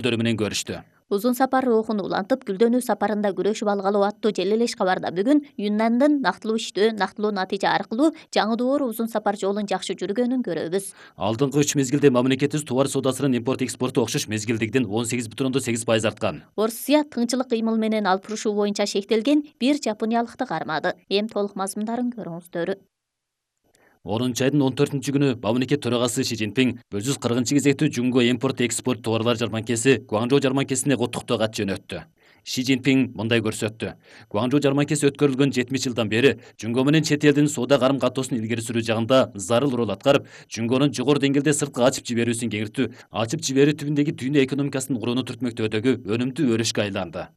менен көрүштү. Узун сапар рухун улантып, гүлдөнүү сапарында күрөшүп алгалы аттуу желелеш кабарда бүгүн Юннандын нактылуу иштөө, нактылуу натыйжа аркылуу жаңы доор узун сапар жолун жакшы жүргөнүн көрөбүз. Алдыңкы 3 мезгилде мамлекетибиз товар соодасынын импорт экспорту окшош мезгилдегиден 18,8% арткан. Орусия тыңчылык кыймыл менен алып урушуу боюнча шектелген бир жапониялыкты кармады. Эми толук мазмундарын көрүңүздөр. 10 айдын 14-күнү мамлекет төрагасы Ши Цзиньпин 140-кезектүү Жунго импорт-экспорт товарлар жарманкеси Гуанчжоу жарманкесине куттуктоо кат жөнөттү. Ши Цзиньпин мындай көрсөттү. Гуанчжоу жарманкеси өткөрүлгөн 70 жылдан бери Жунго менен чет элдин соода карым-катоосун илгери сүрүү жагында зарыл роль аткарып, Жунгонун жогору деңгээлде сырткы ачып жиберүүсүн кеңиртүү, ачып жиберүү түбүндөгү дүйнө экономикасынын курууну түртмөктөөдөгү өнүмдүү өрүшкө айланды.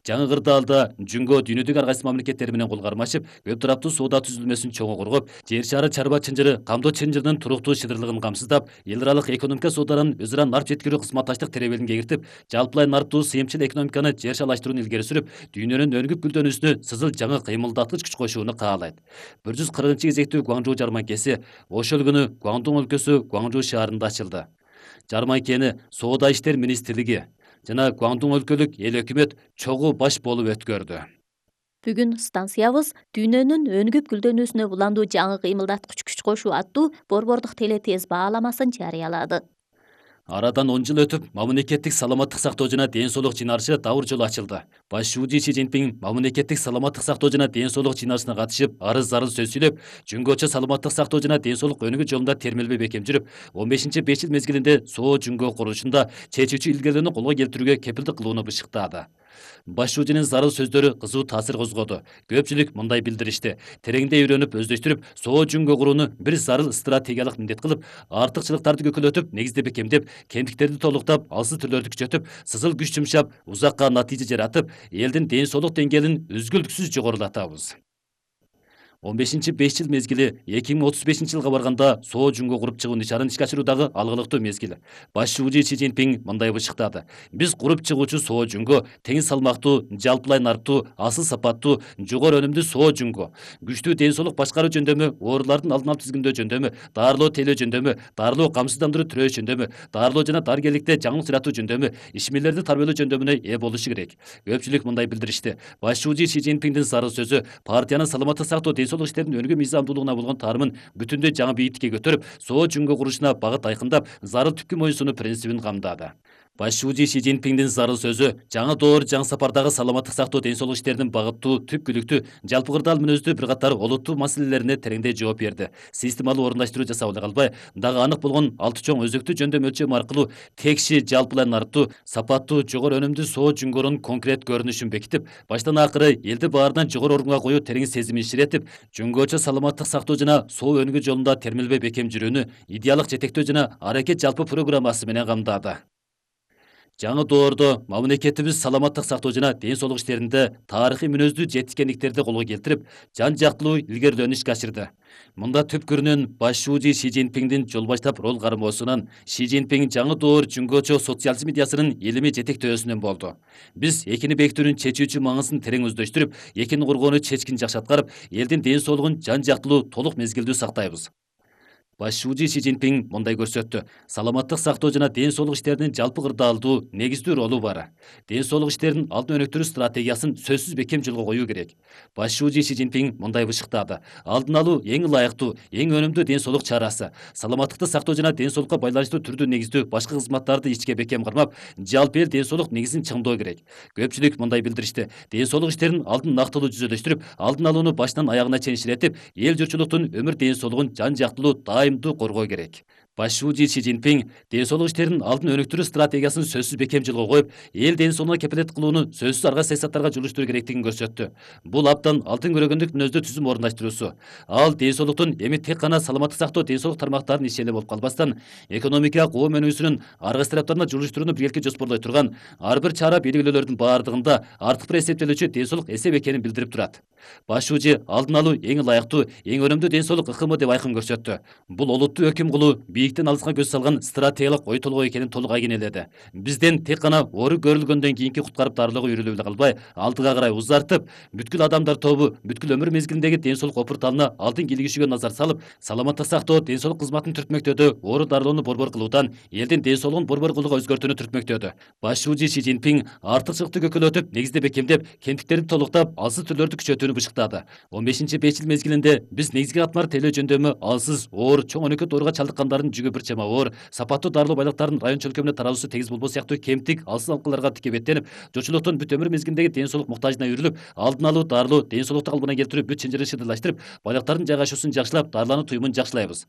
Жаңы кырдаалда Жунго дүйнөдөгү ар кайсы мамлекеттер менен кол кармашып, көп тараптуу соода түзүлмөсүн чоңо коргоп, жер шары чарба чынжыры, камдоо чынжырынын туруктуу шыдырлыгын камсыздап, эл аралык экономика сооданын өз ара нарп жеткирүү кызматташтык теребелин кеңиртип, жалпылай нарптуу сыйымчыл экономиканы жер шалаштырууну илгери сүрүп, дүйнөнүн өнүгүп гүлдөнүүсүнө сызыл жаңы кыймылдаткыч күч кошууну каалайт. 140-кезектүү Гуанчжоу жарманкеси ошол күнү Гуандун өлкөсү Гуанчжоу шаарында ачылды. Жарманкени Соода иштер министрлиги жана Гуандун өлкөлүк эл өкмөт чогуу баш болуп өткөрдү. Бүгүн станциябыз дүйнөнүн өнүгүп гүлдөнүүсүнө буландуу жаңы кыймылдаткыч күч кошуу аттуу борбордук телетез бааламасын жарыялады. Арадан 10 жыл өтүп, мамлекеттик саламаттык сактоо жана ден соолук жыйналышы дабыр жолу ачылды. Баш шууji Ши Цзиньпин мамлекеттик саламаттык сактоо жана ден соолук жыйналышына катышып, арыз зарыл сөз сүйлөп, Жунгочо саламаттык сактоо жана ден соолук өнүгүү жолунда термелбей бекем жүрүп, 15-5 жыл мезгилинде Соо Жунго курулушунда чечүүчү илгерилөөнү колго келтирүүгө кепилдик кылууну бышыктады. Баш шуужинин зарыл сөздөрү кызуу таасир козгоду. Көпчүлүк мындай билдиришти. Тереңдей үйрөнүп, өздөштүрүп, Соо Жунго курууну бир зарыл стратегиялык милдет кылып, артыкчылыктарды көкөлөтүп, негиздеп бекемдеп, кемтиктерди толуктап, алсыз түрлөрдү күчөтүп, сызыл күч жумшап, узакка натыйжа жаратып, элдин ден соолук деңгээлин үзгүлтүксүз жогорулатабыз. 15-5 жыл мезгили 2035 жылга барганда Соо Жунго куруп чыгуу нишанын ишке ашыруудагы алгылыктуу мезгил. Баш шууji Ши Цзиньпин мындай бышыктады. Биз куруп чыгуучу Соо Жунго тең салмактуу, жалпылай нарптуу, асыл сапаттуу, жогору өнүмдүү Соо Жунго. Күчтүү ден соолук башкаруу жөндөмү, оорулардын алдын алып тизгиндөө жөндөмү, дарылоо тейлөө жөндөмү, дарылоо камсыздандыруу түрөөш жөндөмү, дарылоо жана дарыгерликте жаңылык жаратуу жөндөмү, ишмерлерди тарбиялоо жөндөмүнө ээ болушу керек. Көпчүлүк мындай билдиришти. Баш шууji Ши Цзиньпиндин зарыл сөзү партиянын саламаттык сактоо ден соолук иштеринин өнүгүү мыйзамдуулугуна болгон таанымын бүтүндөй жаңы бийиктикке көтөрүп, Соо Жунго курушуна багыт айкындап, зарыл түпкү моюнсунуу принцибин камдады. Баш шууji Ши Цзиньпиндин зарыл сөзү жаңы доор, жаңы сапардагы саламаттык сактоо ден соолук иштеринин багыттуу, түпкүлүктүү, жалпы кырдаал мүнөздүү бир катар олуттуу маселелерине тереңдей жооп берди. Системалуу орундаштыруу жасап эле калбай, дагы анык болгон 6 чоң өзөктүү жөндөм өлчөм аркылуу текши, жалпылай нарптуу, сапаттуу, жогору өнүмдүү Соо Жунгонун конкрет көрүнүшүн бекитип, баштан акыры элди баарынан жогору орунга коюу терең сезимин иширетип, Жунгочо саламаттык сактоо жана соо өнүгүү жолунда термелбей бекем жүрүүнү идеалдык жетектөө жана аракет жалпы программасы менен камдады. Жаңы доордо мамлекетибиз саламаттык сактоо жана ден соолук иштеринде тарыхый мүнөздүү жетишкендиктерди колго келтирип, жан жактылуу илгерилөөнү ишке ашырды. Мында түпкүрүнөн баш шууji Ши Цзиньпиндин жол баштап рол кармоосунан, Ши Цзиньпин жаңы доор Жунгочо социализм идеясынын илимий жетектөөсүнөн болду. Биз экини бекитүүнүн чечүүчү маңызын терең өздөштүрүп, экини коргоону чечкин жакшы аткарып, элдин ден соолугун жан жактылуу, толук мезгилдүү сактайбыз. Баш шууji Ши Цзиньпин мындай көрсөттү. Саламаттык сактоо жана ден соолук иштеринин жалпы кырдаалдуу, негиздүү ролу бар. Ден соолук иштерин алдын өнүктүрүү стратегиясын сөзсүз бекем жолго коюу керек. Баш шууji Ши Цзиньпин мындай бышыктады. Алдын алуу эң ылайыктуу, эң өнүмдүү ден соолук чарасы. Саламаттыкты сактоо жана ден соолукка байланыштуу түрдүү негиздүү башка кызматтарды ичке бекем кармап, жалпы эл ден соолук негизин чыңдоо керек. Көпчүлүк мындай билдиришти. Ден соолук иштерин алдын нактылуу жүзөдөштүрүп, алдын алууну баштан аягына чейин иширетип, эл журтчулуктун өмүр ден соолугун жан жактылуу коргоо керек. Баш шууji Ши Цзиньпин ден соолук иштерин алдын өнүктүрүү стратегиясын сөзсүз бекем жолго коюп, эл ден соолугуна кепилет кылууну сөзсүз арга саясаттарга жолуштуруу керектигин көрсөттү. Бул абдан алтын көрөгөндүк мүнөздүү түзүм орундаштыруусу. Ал ден соолуктун эми тек гана саламаттык сактоо ден соолук тармактарынын иши эле болуп калбастан, экономика коом өнүгүүсүнүн ар кайсы тараптарына жолуштурууну биргеликке жоспорлой турган ар бир чара белгилөөлөрдүн баардыгында артык бир эсептелүүчү ден соолук эсеп экенин билдирип турат. Баш шүүжи алдын алуу эң ылайыктуу, эң өнүмдүү ден соолук ыкымы деп айкын көрсөттү. Бул олуттуу өкүм кылуу бийиктен алыска көз салган стратегиялык ой толгоо экенин толук айгинеледи. Бизден тек гана оору көрүлгөндөн кийинки куткарып дарылоого үйрөлүп эле калбай, алдыга карай узартып, бүткүл адамдар тобу бүткүл өмүр мезгилиндеги ден соолук опурталына алдын килигишүүгө назар салып, саламаттык сактоо ден соолук кызматын түртмөктөөдө оору дарылоону борбор кылуудан элдин ден соолугун борбор кылууга өзгөртүүнү түртмөктөөдө. Баш шүүжи Си Цзиньпин артыкчылыкты көкөлөтүп, негиздеп бекемдеп, кемтиктерди толуктап, алсыз түрлөрдү күчөтүүнү бышыктады. 15-5 жыл мезгилинде биз негизги катмар телөө жөндөмү алсыз, оор, чоң өнөкөт ооруга чалдыккандардын жүгү бир чама оор, сапаттуу дарылоо байлыктарынын район чөлкөмүнө тараруусу тегиз болбоо сыяктуу кемтик, алсыз алкаларга тике беттенип, жочулуктун бүт өмүр мезгилиндеги ден соолук муктажына үйрүлүп, алдын алуу, дарылоо, ден соолукту калыбына келтирүү бүт чынжырын шыдырлаштырып, байлыктардын жайгашуусун жакшылап, дарылануу туюмун жакшылайбыз.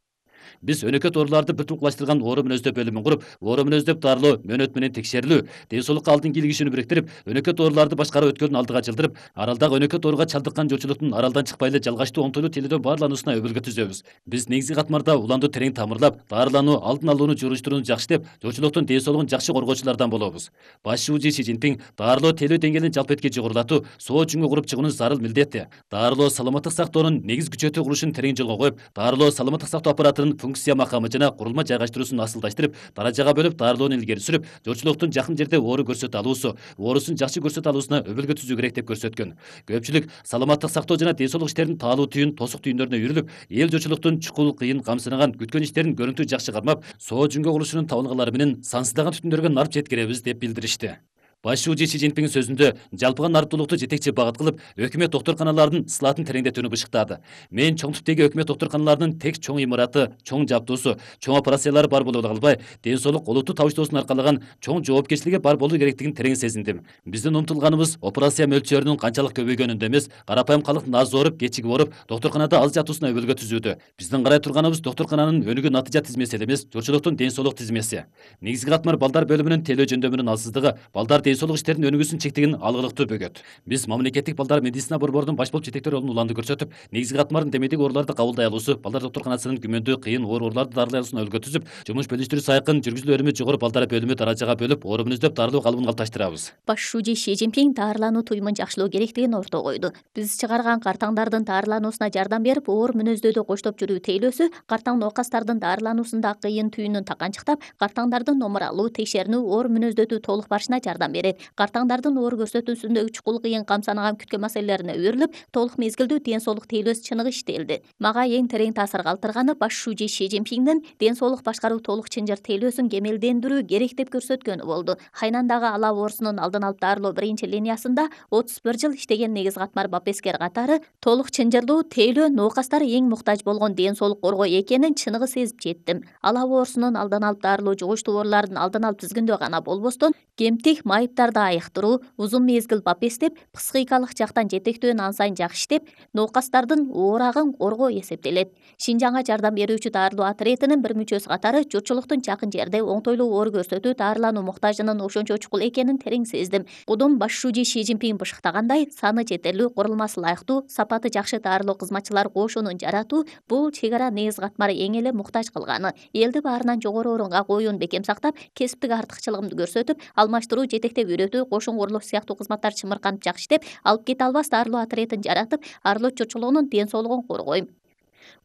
Биз өнөкөт ооруларды бир тулукташтырган оору мүнөздөп бөлүмүн куруп, оору мүнөздөп дарылоо, мөөнөт менен текшерилүү, ден соолукка алдын килигишүүнү бириктирип, өнөкөт ооруларды башкаруу өткөлүн алдыга жылдырып, аралдагы өнөкөт ооруга чалдыккан жочулуктун аралдан чыкпай эле жалгачтуу оңтойлуу телөөдөн баарлануусуна өбөлгө түзөбүз. Биз негизги катмарда уланду терең тамырлап, дарылануу, алдын алууну журуштурууну жакшытып, жочулуктун ден соолугун жакшы коргоочулардан болобуз. Баш шүүжи Си Цзиньпин дарылоо телөө деңгээлин жалпы этке жогорулатуу, соо жүнгө куруп чыгуунун зарыл милдети. Дарылоо саламаттык сактоонун негиз күчөтүү курулушун терең жолго коюп, дарылоо саламаттык сактоо аппаратынын функция макамы жана курулма жайгаштыруусун асылдаштырып, даражага бөлүп дарылоону илгери сүрүп, жочулуктун жакын жерде оору көрсөтө алуусу, оорусун жакшы көрсөтө алуусуна өбөлгө түзүү керек деп көрсөткөн. Көпчүлүк саламаттык сактоо жана ден соолук иштеринин таалуу түйүн, тосук түйүндөрүнө үйрүлүп, эл жочулуктун чукул, кыйын, камсынаган, күткөн иштерин көрүнтү жакшы кармап, соо жүнгө курулушунун табылгалары менен сансыздаган түтүндөргө нарп жеткиребиз деп билдиришти. Баш шүүжи Си Цзиньпиндин сөзүндө жалпыга нарптуулукту жетекчи багыт кылып, өкмөт доктурканаларынын ысылатын тереңдетүүнү бышыктады. Мен чоң түптөгү өкмөт доктурканаларынын тең чоң имараты, чоң жабдуусу, чоң операциялары бар болуп эле калбай, ден соолук олуттуу табыштоосун аркалаган чоң жоопкерчилиги бар болуу керектигин терең сезиндим. Биздин умтулганыбыз операция мөлчөрүнүн канчалык көбөйгөнүндө эмес, карапайым калктын аз ооруп, кечигип ооруп, доктурканада аз жатуусуна өбөлгө түзүүдө. Биздин карай турганыбыз доктуркананын өнүгүү натыйжа тизмеси эле эмес, жочулуктун ден соолук тизмеси. Негизги катмар балдар бөлүмүнүн телөө жөндөмүнүн алсыздыгы, балдар ден соолук иштеринин өнүгүүсүн чектеген алгылыктуу бөгөт. Биз мамлекеттик балдар медицина борборунун баш болуп жетектөө ролун уланды көрсөтүп, негизги катмардын демедик ооруларды кабылдай алуусу, балдар доктурканасынын күмөндүү, кыйын ооруларды дарылай алуусуна өбөлгө түзүп, жумуш бөлүштүрүү сайкын, жүргүзүлүү өрүмү жогору балдар бөлүмү даражага бөлүп, оору мүнөздөп дарылоо калыбын калыпташтырабыз. Баш шүүжи Си Цзиньпин дарылануу туюмун жакшылоо керектигин ортого койду. Биз чыгарган картаңдардын дарылануусуна жардам берип, оор мүнөздөөдө коштоп жүрүү тейлөөсү картаң оокастардын дарылануусунда кыйын түйүнүн таканчыктап, картаңдардын номуралуу, текшеринүү, оор мүнөздөөдүү толук барышына жардам берет. Картаңдардын оор көрсөтүүсүндөгү чукул, кыйын, камсанаган күткөн маселелерине үйрүлүп, толук мезгилдүү ден соолук тейлөөсү чыныгы иштелди. Мага эң терең таасир калтырганы баш шүүжи Си Цзиньпиндин ден соолук башкаруу толук чынжыр тейлөөсүн кемелдендирүү керек деп көрсөткөнү болду. Хайнандагы ала оорусунун алдын алып дарылоо биринчи линиясында 31 жыл иштеген негиз катмар бапескер катары толук чынжырлуу тейлөө ноокастар эң муктаж болгон ден соолук коргоо экенин чыныгы сезип жеттим. Ала оорусунун алдын алып дарылоо жугуштуу оорулардын алдын алып тизгиндөө гана болбостон, кемтик, майыптарды айыктыруу, узун мезгил бапестеп, психикалык жактан жетектөө ан сайын жакшы иштеп, ноокастардын оорагын коргоо эсептелет. Шинжаңга жардам берүүчү дарылоо отрядынын бир мүчөсү катары жочулуктун жакын жерде оңтойлуу оору көрсөтүү дарылануу муктажынын ошончо чукул экенин терең сездим. Кудум баш шүүжи Си Цзиньпин бышыктагандай, саны жетерлүү, курулмасы ылайыктуу, сапаты жакшы дарылоо кызматчылар кошунун жаратуу бул чек ара негиз катмары эң эле муктаж кылганы. Элди баарынан жогору орунга коюуну бекем сактап, кесиптик артыкчылыгымды көрсөтүп, алмаштыруу, жетектеп үйрөтүү, кошун курулуш сыяктуу кызматтар чымырканып жакшы иштеп, алып кете албас дарылоо отрядын жаратып, арылоч жочулугунун ден соолугун коргойм.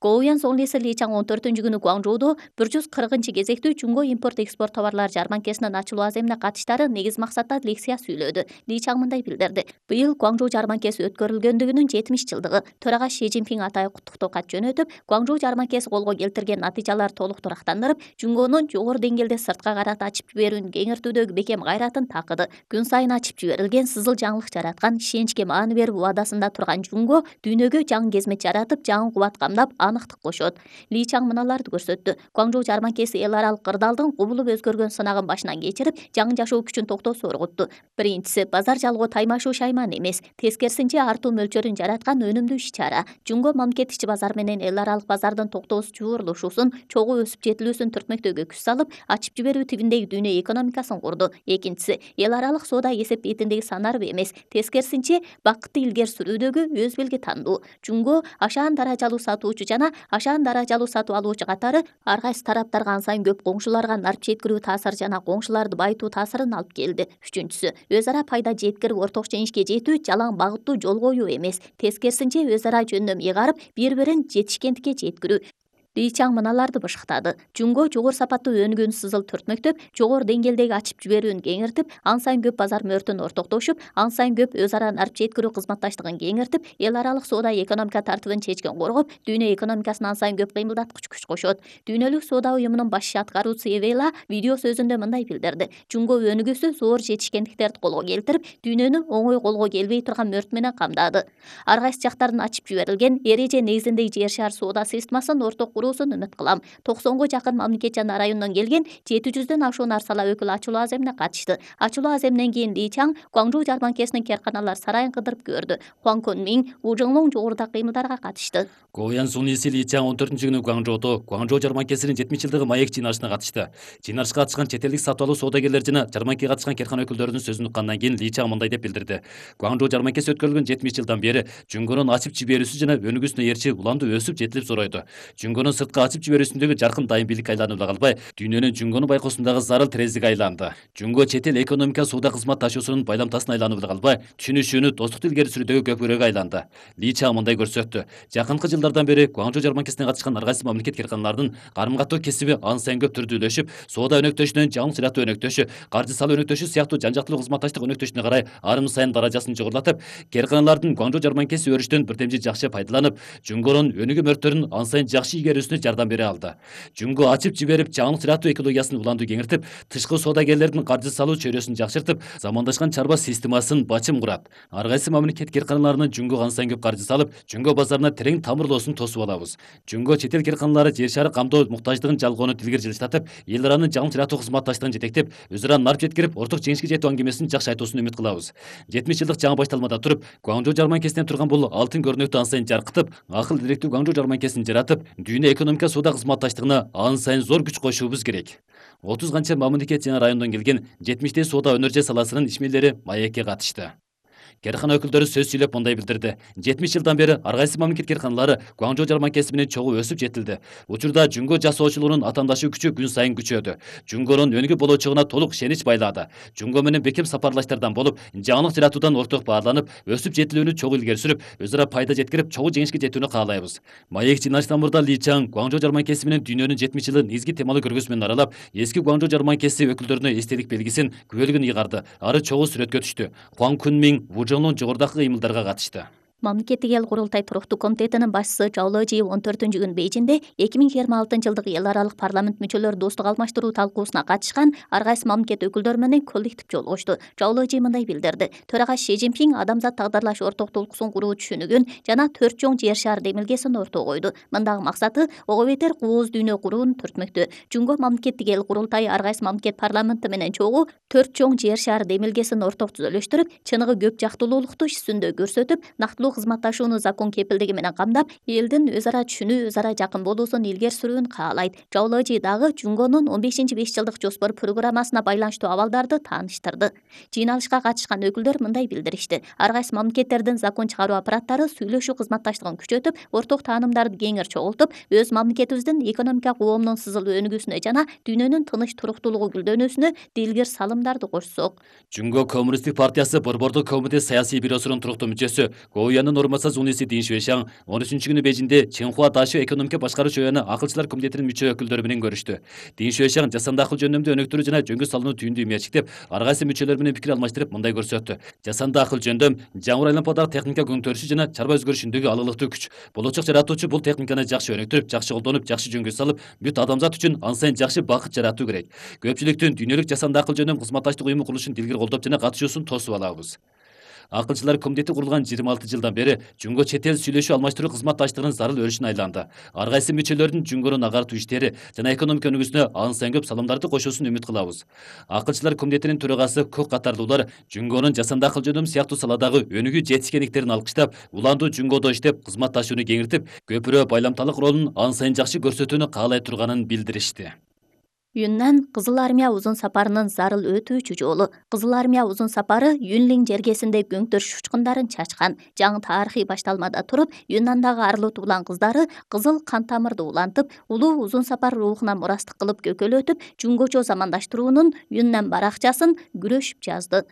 Гоуян Сонглиси Ли Чаң 14-күнү Гуаңжоудо 140 кезектүү Жунго импорт-экспорт товарлар жарманкесинин ачылуу аземине катыштары негиз максатта лекция сүйлөдү. Ли Чаң мындай билдирди. Быйыл Гуаңжоу жарманкеси өткөрүлгөндүгүнүн 70 жылдыгы. Төрага Си Цзиньпин атайы куттуктоо кат жөнөтүп, Гуаңжоу жарманкеси колго келтирген натыйжалар толук турактандырып, Жунгонун жогору деңгээлде сыртка карата ачып жиберүүнү кеңиртүүдөгү бекем кайратын такыды. Күн сайын ачып жиберилген сызыл жаңылык жараткан, ишеничке маани берип убадасында турган Жунго дүйнөгө жаңы кезмет жаратып, жаңы кубат камдап, аныктык кошот. Ли Чаң мыналарды көрсөттү. Гуаңжоу жарманкеси эл аралык кырдаалдын кубулуп өзгөргөн сынагын башынан кечирип, жаңы жашоо күчүн токтоосу оргутту. Биринчиси, базар жалгоо таймашуу шайман эмес, тескерисинче артуу мөлчөрүн жараткан өнүмдүү иш-чара. Жунго мамлекет ичи базар менен эл аралык базардын токтоосу жуурулушуусун, чогуу өсүп жетилүүсүн түртмөктөөгө күч салып, ачып жиберүү тибиндеги дүйнө экономикасын курду. Экинчиси, эл аралык соода эсеп бетиндеги санарбы эмес, тескерисинче бакытты илгери сүрүүдөгү өз белги тандуу. Жунго ашаан даражалуу сатуучу алуучу жана ашаан даражалуу сатып алуучу катары ар кайсы тараптарга ан сайын көп коңшуларга нарп жеткирүү таасыры жана коңшуларды байытуу таасырын алып келди. Үчүнчүсү, өз ара пайда жеткирип орток жеңишке жетүү жалаң багыттуу жол коюу эмес, тескерисинче өз ара жөндөм ыйгарып, бири-бирин жетишкендикке жеткирүү. Ли Чаң мыналарды бышыктады. Жумго жогору сапаттуу өнүгүүнү сызыл төртмөктөп, жогору деңгээлдеги ачып жиберүүнү кеңиртип, ан сайын көп базар мөөртүн ортоктошуп, ан сайын көп өз ара нарп жеткирүү кызматташтыгын кеңиртип, эл аралык соода экономика тартибын чечкен коргоп, дүйнө экономикасына ан сайын көп кыймылдаткыч күч кошот. Дүйнөлүк соода уюмунун баш аткаруучусу Эвела видео сөзүндө мындай билдирди. Жумго өнүгүүсү зор жетишкендиктерди колго келтирип, дүйнөнү оңой колго келбей турган мөөрт менен камдады. Ар кайсы жактардан ачып жиберилген эреже негизиндеги жер шаар соода системасын орток үмүт кылам. 90го жакын мамлекет жана райондон келген 700дөн ашуун арсала өкүлү ачылуу аземине катышты. Ачылуу аземинен кийин Ли Чаң Гуаңжоу жарманкесинин керканалар сарайын кыдырып көрдү. Хуан Кунмин Вужоңлоң жогоруда кыймылдарга катышты. Гоян Суньиси Ли Чаң 14-күнү Гуаңжоодо Гуаңжоу жарманкесинин 70-жылдыгы маек жыйналышына катышты. Жыйналышка катышкан чет элдик сатып алуу соодагерлер жана жарманкеге катышкан керкана өкүлдөрүнүн сөзүн уккандан кийин Ли Чаң мындай деп билдирди. Гуаңжоу жарманкеси өткөрүлгөн 70 жылдан бери Жүнгөнүн ачып жиберүүсү жана өнүгүүсүнө ээрчи уланды өсүп жетилип зоройду. Жүнгөнүн сырткы ачып жиберүүсүндөгү жаркын дайым бийлик айланып эле калбай, дүйнөнүн Жүнгөнү байкоосундагы зарыл терезеге айланды. Жүнгө чет эл экономика соода кызмат ташуусунун байламтасына айланып эле калбай, түшүнүшүүнү, достукту илгери сүрүүдөгү көпүрөгү айланды. Ли Чаң мындай көрсөттү. Жакынкы жылдардан бери Гуаңжоу жарманкесине катышкан ар кайсы мамлекет керканалардын карым-каттоо кесиби ан сайын көп түрдүүлөшүп, соода өнөктөшүнөн жаңылык ырааттоо өнөктөшү, каржы салуу өнөктөшү сыяктуу жан-жактылуу кызматташтык өнөктөшүнө карай арын сайын даражасын жогорулатып, керканалардын Гуаңжоу жарманкеси өрүштөн бирдемжи жакшы пайдаланып, Жүнгөнүн өнүгүү мөөрттөрүн ан сайын жакшы игерүүсүнө жардам бере алды. Жүнгө ачып жиберип, жаңылык ырааттоо экологиясын уланды кеңиртип, тышкы соодагерлердин каржы салуу чөйрөсүн жакшыртып, замандашкан чарба системасын бачым курат. Ар кайсы мамлекет керканаларынын Жүнгө ан сайын көп каржы салып, Жүнгө базарына терең тамырлоосун тосуп алабыз. Жүнгө чет эл керканалары жер шары камдоо муктаждыгын жалгоону тилгер жылыштатып, эл аранын жаңылык ырааттоо кызматташтыгын жетектеп, өз ара нарп жеткирип, орток жеңишке жетүү аңгемесин жакшы айтуусун үмүт кылабыз. 70 жылдык жаңы башталмада туруп, Гуаңжоу жарманкесинен турган бул алтын көрнөктү ан сайын жаркытып, акыл иликтүү Гуаңжоу жарманкесин жаратып, дүйнө экономика соода кызматташтыгына ан сайын зор күч кошуубуз керек. 30 канча мамлекет жана райондон келген 70 соода өнөр саласынын ишмерлери маекке катышты. Керкана өкүлдөрү сөз сүйлөп мындай билдирди. 70 жылдан бери ар кайсы мамлекет керканалары Гуаңжоу жарманкеси менен чогуу өсүп жетилди. Учурда Жүнгө жасоочулугунун атаандашуу күчү күн сайын күчөдү. Жүнгөнүн өнүгүү болочогуна толук ишенич байлаады. Жүнгө менен бекем сапарлаштардан болуп, жаңылык жаратуудан орток баарланып, өсүп жетилүүнү чогуу илгери сүрүп, өз ара пайда жеткирип, чогуу жеңишке жетүүнү каалайбыз. Маек жыйналыштан мурда Ли Чаң Гуаңжоу жарманкеси менен дүйнөнүн 70 жылын изги темалуу көргөзмө менен аралап, эски Гуаңжоу жарманкеси өкүлдөрүнө эстелик белгисин, күбөлүгүн ыйгарды. Ары чогуу сүрөткө түштү. Хуан Кунмин Вужоңлоң жогорудагы кыймылдарга катышты. Мамлекеттик эл курултай туруктуу комитетинин башчысы Чжао Лежи 14-күнү Бейжиңде 2026-жылдык эл аралык парламент мүчөлөрү достук алмаштыруу талкуусуна катышкан ар кайсы мамлекет өкүлдөрү менен коллектив жолугушту. Чжао Лежи мындай билдирди. Төрага Си Цзиньпин адамзат тагдырлаш орток толкусун куруу түшүнүгүн жана 4 чоң жер шаар демилгесин ортого койду. Мындагы максаты ого бетер кооз дүйнө курууну түртмөктө. Жүнгө мамлекеттик эл курултайы ар кайсы мамлекет парламенти менен чогуу 4 чоң жер шаар демилгесин орток түзөлүштүрүп, чыныгы көп жактылуулукту иш жүзүндө көрсөтүп, нактылуу кызматташууну закон кепилдиги менен камдап, элдин өз ара түшүнүү, өз ара жакын болуусун илгери сүрүүнү каалайт. Чжао Лежи дагы Жүнгөнүн 15-5 жылдык жоспор программасына байланыштуу абалдарды тааныштырды. Жыйналышка катышкан өкүлдөр мындай билдиришти. Ар кайсы мамлекеттердин закон чыгаруу аппараттары сүйлөшүү кызматташтыгын күчөтүп, орток таанымдарды кеңир чогултуп, өз мамлекетибиздин экономика коомунун сызыл өнүгүүсүнө жана дүйнөнүн тыныч туруктуулугу гүлдөнүүсүнө дилгир салымдарды кошсок. Жүнгө коммунисттик партиясы Борбордук комитет саясий бюросунун туруктуу мүчөсү Гоуянын Суньиси Дин Шуэшаң 13-күнү Бейжиңде Чинхуа Дашо экономика башкаруу жөнүндө акылчылар комитетинин мүчө өкүлдөрү менен көрүштү. Дин Шуэшаң жасанды акыл жөндөмдү өнүктүрүү жана жөнгө салууну түйүндүү мээрчиктеп, ар кайсы мүчөлөр менен пикир алмаштырып мындай көрсөттү. Жасанды акыл жөндөм жаңы айлампадагы техника көңтөрүшү жана чарба өзгөрүшүндөгү алылыктуу күч. Болочок жаратуучу бул техниканы жакшы өнүктүрүп, жакшы колдонуп, жакшы жөнгө салып, бүт адамзат үчүн ан сайын жакшы бакыт жаратуу керек. Көпчүлүктүн дүйнөлүк жасанды акыл жөндөм кызматташтык уюму курулушун дилгир колдоп жана катышуусун тосуп алабыз. Акылчылар комитети курулган 26 жылдан бери Жүнгө чет эл сүйлөшүү алмаштыруу кызматташтыгынын зарыл өрүшүнө айланды. Ар кайсы мүчөлөрдүн Жүнгөнүн агартуу иштери жана экономика өнүгүүсүнө ан сайын көп салымдарды кошуусун үмүт кылабыз. Акылчылар комитетинин төрагасы көк катардуулар Жүнгөнүн жасанды акыл жөндөм сыяктуу саладагы өнүгүү жетишкендиктерин алкыштап, уландуу Жүнгөдө иштеп, кызматташууну кеңиртип, көпүрө байламталык ролун ан сайын жакшы көрсөтүүнү каалай турганын билдиришти. Юннан Кызыл армия узун сапарынын зарыл өтүүчү жолу. Кызыл армия узун сапары Юнлин жергесинде көңтөрүш учкундарын чачкан. Жаңы тарыхый башталмада туруп, Юннандагы арлуу туулан кыздары кызыл кан тамырды улантып, улуу узун сапар рухуна мурастык кылып көкөлөтүп, Жунгочо замандаштыруунун Юннан баракчасын күрөшүп жазды.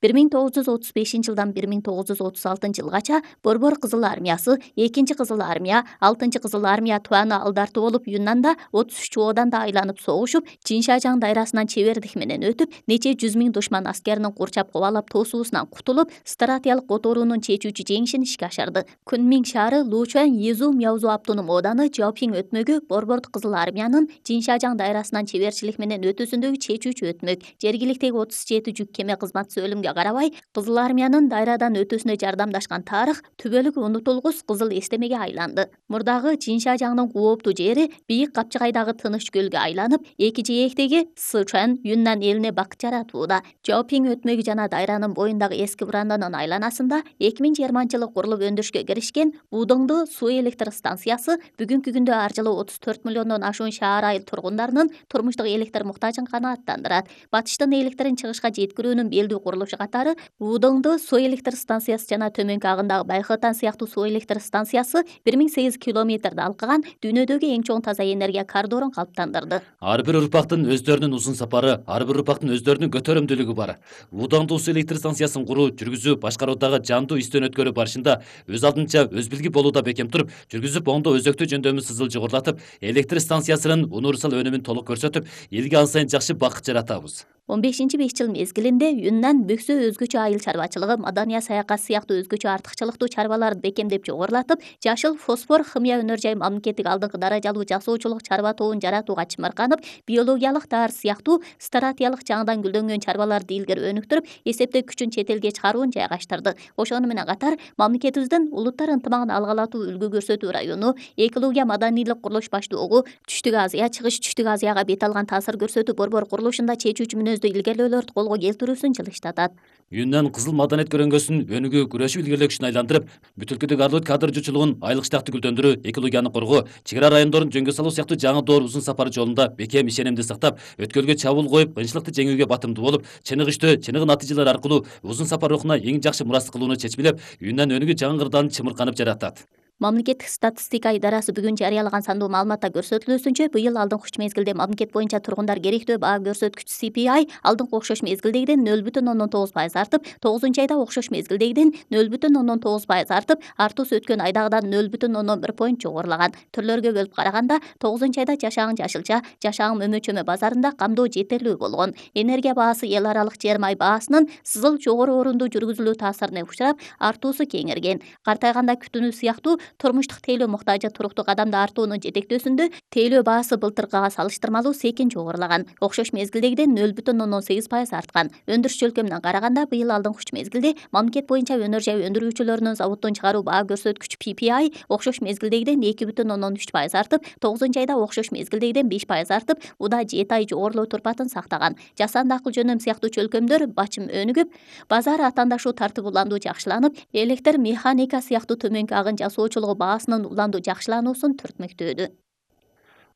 1935 жылдан 1936 жылгача Борбор Кызыл армиясы, 2 Кызыл армия, 6 Кызыл армия туаны алдартуу болуп Юннанда 33 ооданда айланып согушуп, Чиншажаң дайрасынан чебердик менен өтүп, нече 100 миң душман аскеринин курчап кубалап тосуусунан кутулуп, стратиялык которуунун чечүүчү жеңишин ишке ашырды. Кунмиң шаары, Лучуань, Езу, Мяузу автоном ооданы, Жаопиң өтмөгү Борбор Кызыл армиянын Чиншажаң дайрасынан чеберчилик менен өтүүсүндөгү чечүүчү өтмөк. Жергиликтеги 37 жүк кеме кызматчысы өлүмгө карабай, Кызыл армиянын дайрадан өтүүсүнө жардамдашкан тарых түбөлүк унутулгус кызыл эстемеге айланды. Мурдагы Чиншажаңдын кооптуу жери бийик Капчыгайдагы тыныч көлгө айланып, эки жээктеги Сычуань, Юннан элине бакыт жаратууда. Жаопиң өтмөгү жана дайранын боюндагы эски Буранданын айланасында 2020-жылы курулуп өндүрүшкө киришкен Будоңду суу электр станциясы бүгүнкү күндө ар жылы 34 миллиондон ашуун шаар айыл тургундарынын турмуштук электр муктажын канааттандырат. Батыштын электрин чыгышка жеткирүүнүн белдүү курулушу катары Будоңду суу электр станциясы жана төмөнкү агындагы Байхытан сыяктуу суу электр станциясы 1008 километрди алкаган дүйнөдөгү эң чоң таза энергия коридорун калыптандырды. Ар бир урпактын өздөрүнүн узун сапары, ар бир урпактын өздөрүнүн көтөрөмдүүлүгү бар. Будоңду суу электр станциясын куруу, жүргүзүү, башкаруудагы жандуу издөнөткөрү барышында өз алдынча өз билги болууда бекем туруп, жүргүзүп оңдо өзөктүү жөндөмү сызыл жогорулатып, электр станциясынын универсал өнүмүн толук көрсөтүп, элге ан сайын жакшы бакыт жаратабыз. 15-5 жыл мезгилинде Юннан бөксө өзгөчө айыл чарбачылыгы, Мадания саякат сыяктуу өзгөчө артыкчылыктуу чарбаларды бекемдеп жогорулатып, жашыл фосфор химия өнөр жай мамлекеттик алдыңкы даражалуу жасоочулук чарба тобун жаратууга чымырканып, биологиялык даар сыяктуу стратиялык жаңыдан гүлдөнгөн чарбаларды илгери өнүктүрүп, эсептөө күчүн чет элге чыгаруун жайгаштырды. Ошону менен катар, мамлекетибиздин улуттар ынтымагын алгалатуу үлгү көрсөтүү району, экология маданийлик курулуш баштоого, Түштүк Азия, Чыгыш Түштүк Азияга бет алган таасир көрсөтүү борбор курулушунда чечүүчү мүнөздүү илгерилөөлөрдү колго келтирүүсүн жылыштатат. Юннан кызыл маданият көрөнгөсүн өнүгүү, күрөшүү илгерилөө күчүн айландырып, бүт өлкөдөгү арлуу кадр жуучулугун айылык штатты гүлдөндүрүү, экологияны коргоо, чек ара райондорун жөнгө салуу сыяктуу жаңы доор узун сапары жолунда бекем ишенимди сактап, өткөлгө чабуул коюп, кыйынчылыкты жеңүүгө батымдуу болуп, чыныгы чыныгы натыйжалар аркылуу узун сапар рухуна эң жакшы мурастык кылууну чечмелеп, Юннан өнүгүү жаңы кырдаалын чымырканып жаратат. Мамлекеттик статистика идарасы бүгүн жарыялаган сандуу маалыматта көрсөтүлүүсүнчө, быйыл алдыңкы 3 мезгилде мамлекет боюнча тургундар керектөө баа көрсөткүчү CPI алдыңкы окшош мезгилдегиден 0,9% артып, 9-айда окшош мезгилдегиден 0,9% артып, артуусу өткөн айдагыдан 0,1 поинт жогорулаган. Түрлөргө бөлүп караганда, 9-айда жашагың жашылча, жашагың мөмөчөмө базарында камдоо жетерлүү болгон. Энергия баасы эл аралык жер май баасынын сызыл жогору орунду жүргүзүлүү таасирине учурап, артуусу кеңейген. Картайганда күтүүнү сыяктуу турмуштук тейлөө муктажы туруктук адамды артуунун жетектөөсүндө тейлөө баасы былтыркыга салыштырмалуу секин жогорулаган. Окшош мезгилдегиден 0,18% арткан. Өндүрүш жөлкөмүнөн караганда, быйыл алдыңкы 3 мезгилде мамлекет боюнча өнөр жай өндүрүүчүлөрүнүн заводдон чыгаруу баа көрсөткүчү PPI окшош мезгилдегиден 2,13% артып, 9-айда окшош мезгилдегиден 5% артып, уда 7 ай жогорулоо турпатын сактаган. Жасанды акыл жөнөм сыяктуу чөлкөмдөр бачым өнүгүп, базар атаандашуу тартып уландуу жакшыланып, электр механика сыяктуу төмөнкү агын жасоочулугу баасынын уландуу жакшылануусун түртмөктөөдү.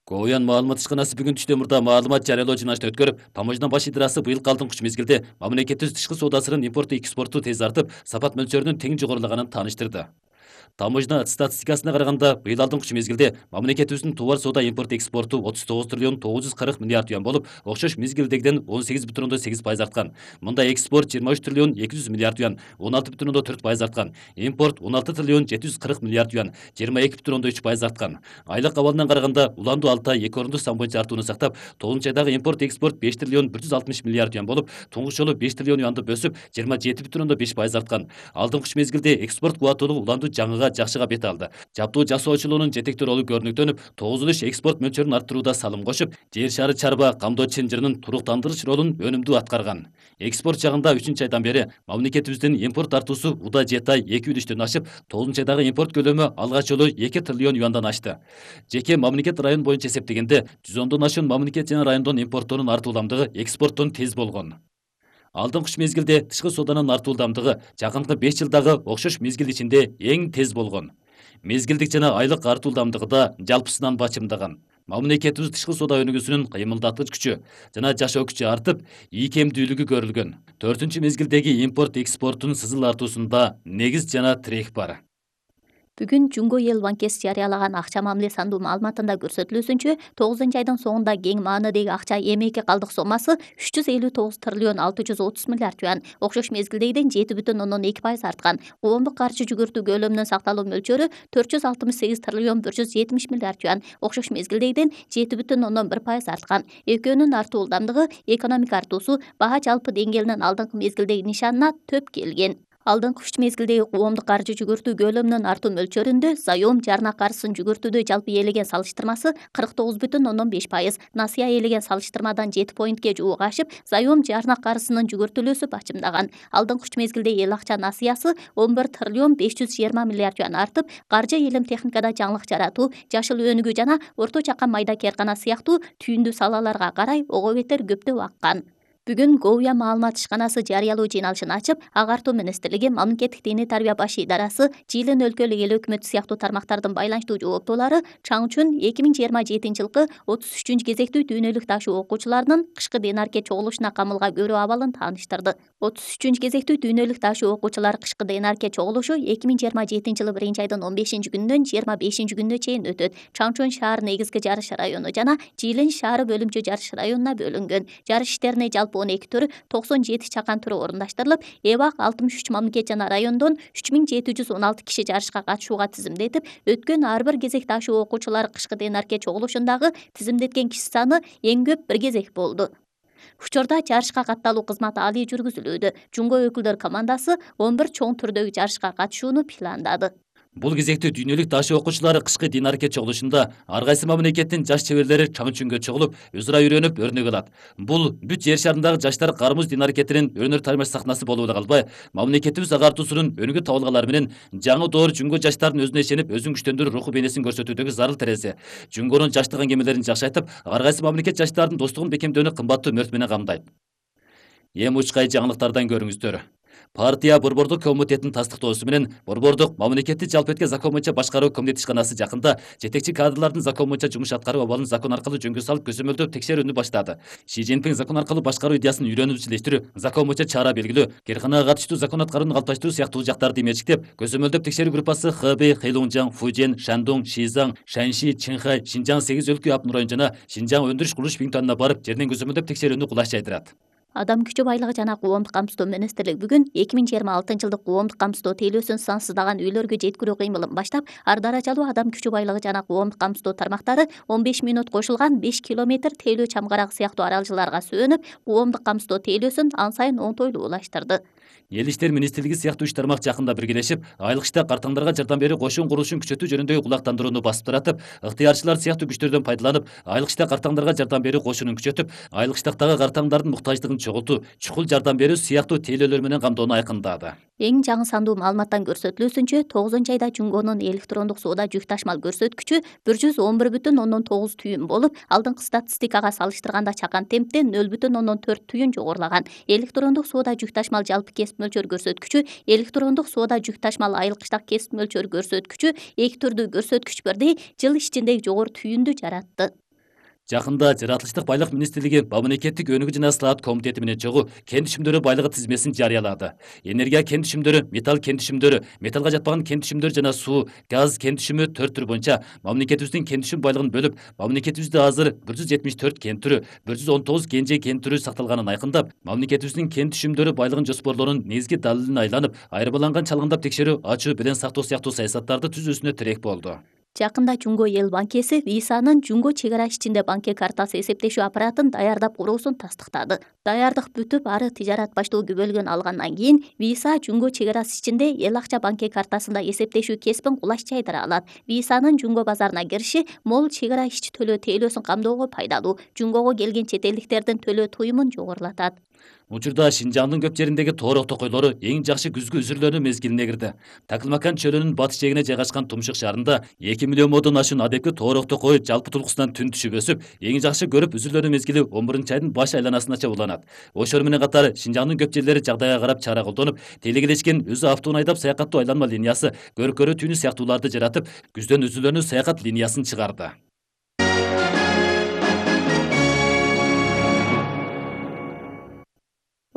Коуян маалымат ишканасы бүгүн түштө мурда маалымат жарыялоо жыйнашты өткөрүп, таможня баш идарасы быйылкы алдыңкы 3 мезгилде мамлекетибиз тышкы соодасынын импорту экспорту тез артып, сапат мөлчөрүнүн тең жогорулаганын тааныштырды. Таможня статистикасына караганда, быйыл алдыңкы 3 мезгилде мамлекетибиздин товар соода импорт экспорту 39 триллион 940 миллиард юан болуп, окшош мезгилдегиден 18,8% арткан. Мында экспорт 23 триллион 200 миллиард юан, 16,4% арткан. Импорт 16 триллион 740 миллиард юан, 22,3% арткан. Айлык абалынан караганда, уландуу 6 ай 2 орунду сан боюнча артууну сактап, 9-айдагы импорт экспорт 5 триллион 160 миллиард юан болуп, туңгуч жолу 5 триллион юанды бөсүп, 27,5% арткан. Алдыңкы 3 мезгилде экспорт кубаттуулугу уландуу жаңыга жакшыга бет алды. Жаптуу жасоочулугунун жетектүү ролу көрүнүктөнүп, 9 экспорт мөлчөрүн арттырууда салым кошуп, жер шары чарба камдоо чынжырынын туруктандырыч ролун өнүмдүү аткарган. Экспорт жагында 3-айдан бери мамлекетибиздин импорт артуусу уда 7 ай 2 үлүштөн ашып, 9-айдагы импорт көлөмү алгач жолу 2 триллион юандан ашты. Жеке мамлекет район боюнча эсептегенде, 110дон ашуун мамлекет жана райондон импорттоонун артууламдыгы экспорттон тез болгон. Алдыңкы 3 мезгилде тышкы сооданын артуулдамдыгы жакынкы 5 жылдагы окшош мезгил ичинде эң тез болгон. Мезгилдик жана айлык артуулдамдыгы да жалпысынан бачымдаган. Мамлекетибиз тышкы соода өнүгүүсүнүн кыймылдаткыч күчү жана жашоо күчү артып, ийкемдүүлүгү көрүлгөн. 4-мезгилдеги импорт экспорттун сызыл артуусунда негиз жана тирек бар. Бүгүн Жумго эл банкеси жарыялаган акча мамиле сандуу маалыматында көрсөтүлүүсүнчө 9-айдын соңунда кең маанидеги акча эмеки калдык соммасы 359 триллион 630 миллиард юан, окшош мезгилдегиден 7,2% арткан. Коомдук каржы жүгүртүү көлөмүнүн сакталуу мөлчөрү 468 триллион 170 миллиард юан, окшош мезгилдегиден 7,1% арткан. Экөөнүн артуу ылдамдыгы экономика артуусу баа жалпы деңгээлинин алдыңкы мезгилдеги нишанына төп келген. Алдыңкы 3 мезгилдеги коомдук каржы жүгүртүү көлөмүнүн артуу мөлчөрүндө заем жарна каржысын жүгүртүүдө жалпы ээлеген салыштырмасы 49,5%, насыя ээлеген салыштырмадан 7 поинтке жуук ашып, заем жарна каржысынын жүгүртүлүүсү бачымдаган. Алдыңкы 3 мезгилде эл акча насыясы 11 триллион 520 миллиард юан артып, каржы илим техникада жаңылык жаратуу, жашыл өнүгүү жана орто чакан майда кээркана сыяктуу түйүндүү салаларга карай ого бетер көптөп аккан. Бүгүн Говия маалымат ишканасы жарыялоо жыйналышын ачып, Агартуу министрлиги, мамлекеттик диний тарбия баш идарасы, Жыйылын өлкөлүк эл өкмөтү сыяктуу тармактардын байланыштуу жооптуулары Чаңчун 2027-жылкы 33-кезектүү дүйнөлүк ташуу окуучуларынын кышкы Денарке чогулушуна камылга көрүү абалын тааныштырды. 33-кезектүү дүйнөлүк ташуу окуучулар кышкы Денарке чогулушу 2027-жылы 1-айдын 15-күнүнөн 25-күнүнө чейин өтөт. Чаңчун шаар негизги жарыш району жана Жыйылын шаары бөлүмчө жарыш районуна бөлүнгөн. Жарыш иштерине жалпы 12 түрү 97 чакан түрү орунаштырылып, эбак 63 мамлекет жана райондон 3716 киши жарышка катышууга тизимдетип, өткөн ар бир кезек ташуу окуучулары кышкы Денарке чогулушундагы тизимдеткен киши саны эң көп бир кезек болду. Учурда жарышка катталуу кызматы алий жүргүзүлүүдө. Жумго өкүлдөр командасы 11 чоң түрдөгү жарышка катышууну пландады. Бул кезекте дүйнөлүк ташуу окуучулары кышкы Денарке чогулушунда ар кайсы мамлекеттин жаш чеберлери Чаңчунга чогулуп, өз ара үйрөнүп, өрнөк алат. Бул бүт жер шарындагы жаштар кармыз Денаркетинин өнөр тармаш сахнасы болуп эле калбай, мамлекетибиз агартуусунун өнүгүү табылгалары менен жаңы доор Жумго жаштардын өзүнө ишенип, өзүн күчтөндүрүү руху бейнесин көрсөтүүдөгү зарыл терезе. Жумгонун жаштык аңгемелерин жакшы айтып, ар кайсы мамлекет жаштардын достугун бекемдөөнү кымбаттуу мөрт менен камдайт. Эми учкай жаңылыктардан көрүңүздөр. Партия Борбордук комитетинин тастыктоосу менен Борбордук мамлекеттик жалпы закон боюнча башкаруу комитет ишканасы жакында жетекчи кадрлардын закон боюнча жумуш аткаруу абалын закон аркылуу жөнгө салып көзөмөлдөп текшерүүнү баштады. Си Цзиньпин закон аркылуу башкаруу идеясын үйрөнүп изилештирүү, закон боюнча чара белгилөө, кээрканага катыштуу закон аткарууну калыпташтыруу сыяктуу жактарды эметиктеп, көзөмөлдөп текшерүү группасы Хэбэй, Хэйлунжаң, Фужен, Шандун, Шизаң, Шаньши, Чинхай, Шинжаң 8 өлкө автономдук район жана Шинжаң өндүрүш курулуш пунктуна барып, жерден көзөмөлдөп текшерүүнү кулаш жайдырат. Адам күчү байлыгы жана коомдук камсыздоо министрлиги бүгүн 2026-жылдык коомдук камсыздоо тейлөөсүн сансыздаган үйлөргө жеткирүү кыймылын баштап, ар даражалуу адам күчү байлыгы жана коомдук камсыздоо тармактары 15 мүнөт кошулган 5 километр тейлөө чамгарак сыяктуу аралжаларга сөөнүп, коомдук камсыздоо тейлөөсүн ан сайын оңтойлуу улаштырды. Эл иштер министрлиги сыяктуу үч тармак жакында биргелешип, айлык иште картаңдарга жардам берүү кошун курулушун күчөтүү жөнүндөгү кулактандырууну басып таратып, ыктыярчылар сыяктуу күчтөрдөн пайдаланып, айлык иште картаңдарга жардам берүү кошунун күчөтүп, айлык иштактагы картаңдардын муктаждыгын чогултуу, чукул жардам берүү сыяктуу тейлөөлөр менен камдоону айкындады. Эң жаңы сандуу маалыматтан көрсөтүлүүсүнчө, 9-айда Жумгонун электрондук соода жүк ташмал көрсөткүчү 111,9 түйүн болуп, алдыңкы статистикага салыштырганда чакан темпте 0,4 түйүн жогорулаган. Электрондук соода жүк ташмал жалпы кесип мөлчөр көрсөткүчү, электрондук соода жүк ташмал айылык иштак кесип мөлчөр көрсөткүчү эки түрдүү көрсөткүч бирдей жыл ичинде жогору түйүндү жаратты. Жакында Жаратылыштык байлык министрлиги мамлекеттик өнүгүү жана слаат комитети менен чогуу кен түшүмдөрү байлыгы тизмесин жарыялады. Энергия кен түшүмдөрү, металл кен түшүмдөрү, металлга жатпаган кен түшүмдөр жана суу, газ кен түшүмү 4 түр боюнча мамлекетибиздин кен түшүм байлыгын бөлүп, мамлекетибизде азыр 174 кен түрү, 119 кенже кен түрү сакталганын айкындап, мамлекетибиздин кен түшүмдөрү байлыгын жоспорлоонун негизги далилине айланып, айырмаланган чалгындап текшерүү, ачуу белең сактоо сыяктуу саясаттарды түзүүсүнө тирек болду. Жакында Жумго эл банкеси Висанын Жумго чек ара ичинде банке картасы эсептешүү аппаратын даярдап куруусун тастыктады. Даярдык бүтүп, ары тижарат баштоого бөлгөн алгандан кийин Виса Жумго чек арасы ичинде эл акча банке картасында эсептешүү кесипин кулаш жайдыра алат. Висанын Жумго базарына кириши мол чек ара ичи төлөө тейлөөсүн камдоого пайдалуу. Жумгого келген чет элдиктердин төлөө туюмун жогорулатат. Учурда Шинжаңдын көп жериндеги тоорок токойлору эң жакшы күзгү үзүрлөрүнүн мезгилине кирди. Таклмакан чөлүнүн батыш жээгине жайгашкан Тумшук шаарында 2 миллион модон ашуун адепки тоорок токой жалпы тулкусунан түн түшүп өсүп, эң жакшы көрүп үзүрлөрүнүн мезгили 11-айдын баш айланасынача уланат. Ошол менен катар Шинжаңдын көп жерлери жагдайга карап чара колдонуп, тейлегелешкен өзү автоун айдап саякаттоо айланма линиясы, көркөрүү түйүнү сыяктууларды жаратып, күздөн үзүлөнүү саякат линиясын чыгарды.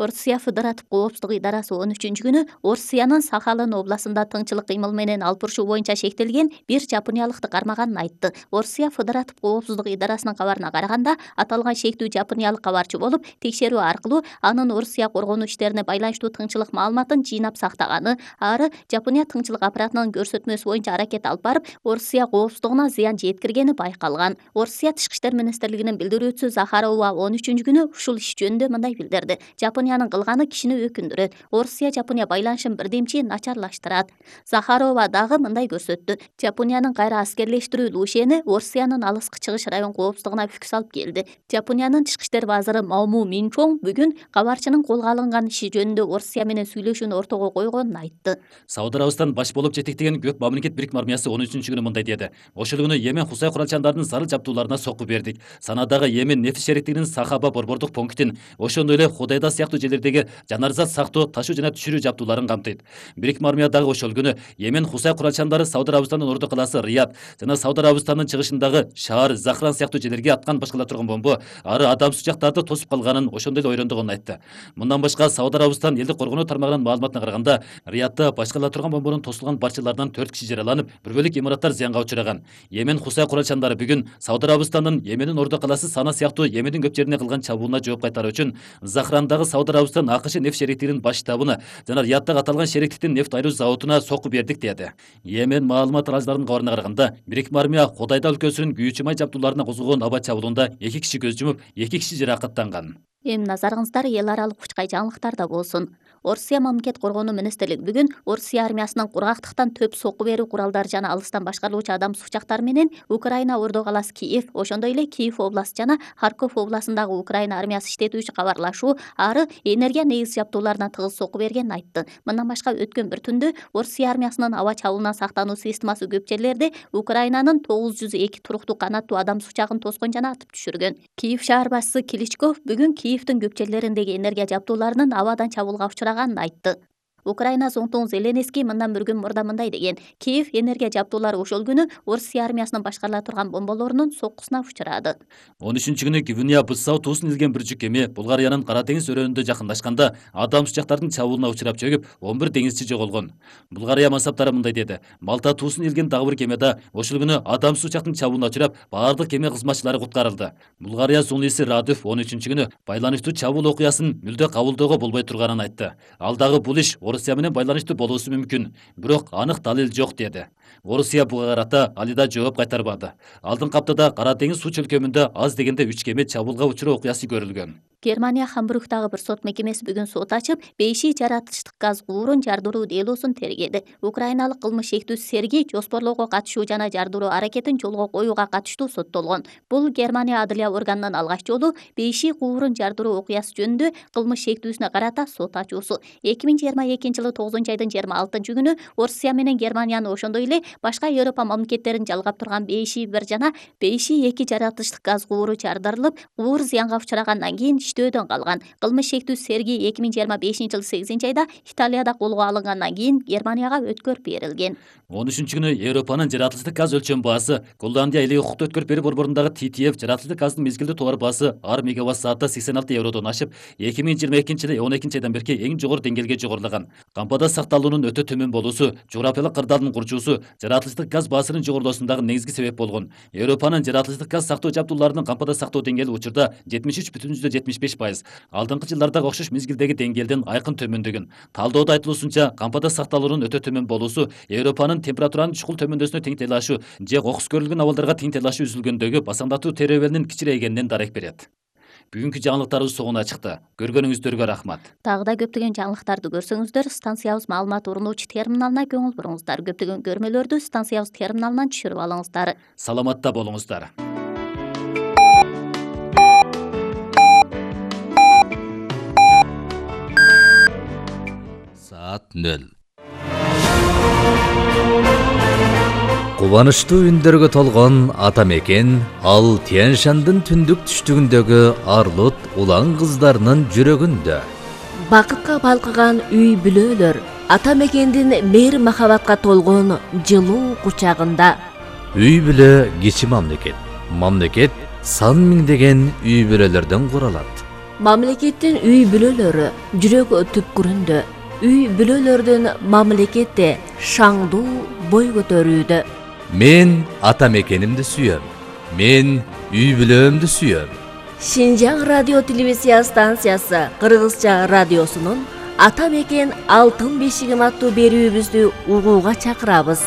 Орусия Федератив коопсуздук идарасы 13-күнү Орусиянын Сахалин областында тыңчылык кыймыл менен алып урушуу боюнча шектелген бир жапониялыкты кармаганын айтты. Орусия Федератив коопсуздук идарасынын кабарына караганда, аталган шектүү жапониялык кабарчы болуп, текшерүү аркылуу анын Орусия коргонуу иштерине байланыштуу тыңчылык маалыматын жыйнап сактаганы, ары Жапония тыңчылык аппаратынын көрсөтмөсү боюнча аракет алып барып, Орусия коопсуздугуна зыян жеткиргени байкалган. Орусия Тышкы иштер министрлигинин билдирүүчүсү Захарова 13-күнү ушул иш жөнүндө мындай билдирди. Жапониянын кылганы кишини өкүндүрөт. Орусия-Жапония байланышын бирдемчи начарлаштырат. Захарова дагы мындай көрсөттү. Жапониянын кайра аскерлештирүү лушени Орусиянын алыскы чыгыш район коопсуздугуна бүк салып келди. Жапониянын Тышкы иштер базыры Мауму Минчон бүгүн кабарчынын колго алынган иши жөнүндө Орусия менен сүйлөшүүнү ортого койгонун айтты. Сауд Арабистан баш болуп жетектеген Көк мамлекет Бирикме армиясы 13-күнү мындай деди. Ошол күнү Йемен Хусай куралчандардын зарыл жабдууларына сокку бердик. Санадагы Йемен нефть шериктигинин Сахаба борбордук пунктин, ошондой эле Худайда сыяктуу жерлердеги жанарзат сактоо, ташуу жана түшүрүү жабдууларын камтыйт. Бирикме армия дагы ошол күнү Йемен Хусай куралчандары Сауд Арабистандын орду калаасы Рият жана Сауд Арабистандын чыгышындагы шаар Захран сыяктуу жерлерге аткан башкала турган бомбо ары адам сучактарды тосуп калганын, ошондой эле ойрондогонун айтты. Мындан башка Сауд Арабистан элдик коргонуу тармагынын маалыматына караганда, Риятта башкала турган бомбонун тосулган барчаларынан 4 киши жараланып, бир бөлүк имараттар зыянга учураган. Йемен Хусай куралчандары бүгүн Сауд Арабистандын Йемендин орду калаасы Сана сыяктуу Йемендин көп жерине кылган чабуулуна жооп кайтаруу үчүн Захрандагы Сауд Арабистан АКШ нефть шериктигинин баш штабына жана Рияттагы аталган шериктиктин нефть айыруу заводуна сокку бердик деди. Йемен маалымат аралжыларынын кабарына караганда, Бирикме армия Худайда өлкөсүнүн күйүүчү май жабдууларына козголгон аба чабуулунда 2 киши көз жумуп, 2 киши жаракаттанган. Эми назарыңыздар эл аралык учкай жаңылыктарда болсун. Орусия мамлекет коргонуу министрлиги бүгүн Орусия армиясынын кургактыктан төп сокку берүү куралдары жана алыстан башкарылуучу адам сучактары менен Украина орду калаасы Киев, ошондой эле Киев областы жана Харьков областындагы Украина армиясы иштетүүчү кабарлашуу, ары энергия негиз жабдууларына тыгыз сокку бергенин айтты. Мындан башка өткөн бір түндө Орусия армиясынын аба чабуулунан сактануу системасы көп жерлерде Украинанын 902 туруктуу канаттуу адам сучагын тоскон жана атып түшүргөн. Киев шаар башчысы Кличков бүгүн Киевдин көп жерлериндеги энергия жабдууларынын абадан чабуулга учураганын айтты. Украина Зонтун Зеленский мындан бір күн мурда мындай деген: Киев энергия жабдуулары ошол күнү Орусия армиясынын башкарыла турган бомболорунун соккусуна учурады. 13-күнү Гвинея Быссау туусун илген бир жүк кеме Булгариянын Кара деңиз өрөөнүндө жакындашканда адам сучактардын чабуулуна учурап чөгүп, 11 деңизчи жоголгон. Булгария мансаптары мындай деди: Малта туусун илген дагы бир кемеде ошол күнү адам сучактын чабуулуна учурап, баардык кеме кызматчылары куткарылды. Булгария сунуйсу Радыв 13-күнү байланыштуу чабуул окуясын мүлдө кабылдөөгө болбой турганын айтты. Ал дагы бул иш Орусия менен байланыштуу болуусу мүмкүн, бирок анык далил жок деди. Орусия буга карата алида жооп кайтарбады. Алдыңкы аптада Кара деңиз суу чөлкөмүндө аз дегенде 3 кеме чабуулга учуруу окуясы көрүлгөн. Германия Хамбургдагы бир сот мекемеси бүгүн сот ачып, бейши жаратылыштык газ куурун жардыруу делосун тергеди. Украиналык кылмыш шектүүсү Сергей жоспорлоого катышуу жана жардыруу аракетин жолго коюуга катыштуу соттолгон. Бул Германия адылия органынын алгач жолу бейши куурун жардыруу окуясы жөнүндө кылмыш шектүүсүнө карата сот ачуусу. 2022-жылы 9-айдын 26-күнү Орусия менен Германияны ошондой эле башка Европа мамлекеттерин жалгап турган бейши 1 жана бейши 2 жаратылыштык газ кууру жардырылып, куур зыянга учурагандан кийин иштөөдөн калган. Кылмыш шектүүсү Сергей 2025-жылы 8-айда Италияда колго алынгандан кийин Германияга өткөрүп берилген. 13-күнү Европанын жаратылыштык газ өлчөм баасы Голландия эле укуктуу өткөрүп берүү борборундагы TTF жаратылыштык газдын мезгилдүү товар баасы ар мегаватт саатта 86 евродон ашып, 2022-жылы 12-айдан берки эң жогору деңгээлге жогорулаган. Кампада сакталуунун өтө төмөн болуусу, жогорапиялык кырдаалдын курчуусу жаратылыштык газ баасынын жогорулуусундагы негизги себеп болгон. Европанын жаратылыштык газ сактоо жабдууларынын кампада сактоо деңгээли учурда 73,75%. Алдыңкы жылдардагы окшош мезгилдеги деңгээлден айкын төмөндөгөн. Талдоодо айтылуусунча, кампада сакталуунун өтө төмөн болуусу Европанын температуранын чукул төмөндөсүнө тең тейлашуу же кокус көрүлгөн абалдарга тең тейлашуу үзүлгөндөгү басаңдатуу теребелинин кичирейгенинен дарек берет. Бүгүнкү жаңылыктарыбыз соңуна чыкты. Көргөнүңүздөргө рахмат. Дагы да көптөгөн жаңылыктарды көрсөңүздөр, станциябыз маалымат урунуучу терминалына көңүл буруңуздар. Көптөгөн көрмөлөрдү станциябыз терминалынан түшүрүп алыңыздар. Саламатта болуңуздар. Saat 0. Кубанычтуу үндөргө толгон ата мекен ал Тянь-Шандын түндүк түштүгүндөгү арлут улан кыздарынын жүрөгүндө. Бакытка балкыган үй бүлөлөр ата мекендин мейир махабатка толгон жылуу кучагында. Үй бүлө кичи мамлекет. Мамлекет сан миңдеген үй бүлөлөрдөн куралат. Мамлекеттин үй бүлөлөрү жүрөк түпкүрүндө, үй бүлөлөрдүн мамлекетте шаңдуу бой көтөрүүдө. Мен ата мекенимди сүйөм. Мен үй бүлөмдү сүйөм. Шинжаң радио телевизия станциясы Кыргызча радиосунун Ата мекен алтын бешигим аттуу берүүбүздү угууга чакырабыз.